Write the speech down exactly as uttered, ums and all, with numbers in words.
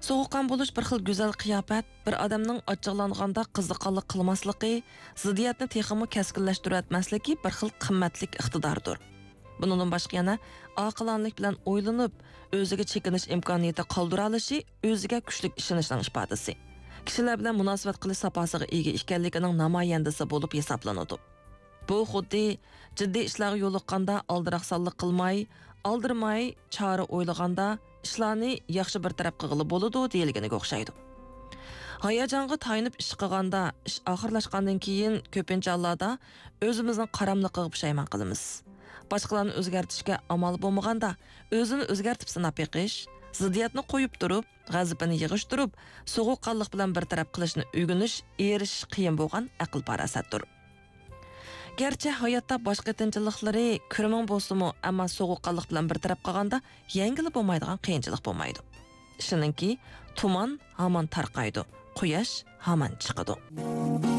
سوغۇققان بولۇش بىر خىل گۈزەل قىياپەت، بىر ئادەمنىڭ ئاچچىقلانغاندا قىزىقارلىق قىلماسلىقى، زىددىيەتنى تېخىمۇ كەسكىنلەشتۈرۈۋەتمەسلىكى بىر خىل قىممەتلىك ئىقتىداردۇر. بۇنىڭدىن باشقا يەنە ئاقىلانىلىك بىلەن ئويلىنىپ، ئۆزىگە چېكىنىش ئىمكانىيىتى قالدۇرالىشى ئۆزىگە كۈچلۈك ئىشىنىشنىڭ ئىپادىسى. كىشىلەر بىلەن مۇناسىۋەت قىلىش ساپاسىغا ئىگە ئىكەنلىكىنىڭ نامايەندىسى بولۇپ ھېسابلىنىدۇ. بۇ خۇددى جىددىي ئىشلارغا يولۇققاندا ئالدىراقسانلىق قىلماي، ئالدىرىماي، چارە ئويلىغاندا ئىشلارنى ياخشى بىر تەرەپ قىلغىلى بولىدۇ دېيىلگىنىگە ئوخشايدۇ. ھاياجانغا تايىنىپ ئىش قىلغاندا، ئىش ئاخىرلاشقاندىن كېيىن كۆپىنچە ھاللاردا ئۆزىمىزنىڭ قاراملىقىغا پۇشايمان قىلىمىز. باشقىلارنى ئۆزگەرتىشكە ئامال بولمىغاندا، ئۆزىنى ئۆزگەرتىپ سىناپ بېقىش، زىددىيەتنى قويۇپ تۇرۇپ، غەزىپىنى يىغىشتۇرۇپ، سوغۇققانلىق بىلەن بىر تەرەپ قىلىشنى ئۆگىنىش، ئېرىشىش قىيىن بولغان ئەقىل-پاراسەتتۇر. گەرچە ھاياتتا باش قېتىنچىلىقلىرى كىرمىڭ بولسىمۇ، ئەمما سوغۇققانلىق بىلەن بىر تەرەپ قىلغاندا يەڭگىلى بولمايدىغان قىيىنچىلىق بولمايدۇ. ئىشىنىڭكى، تۇمان ھامان تارقايدۇ، قۇياش ھامان چىقىدۇ.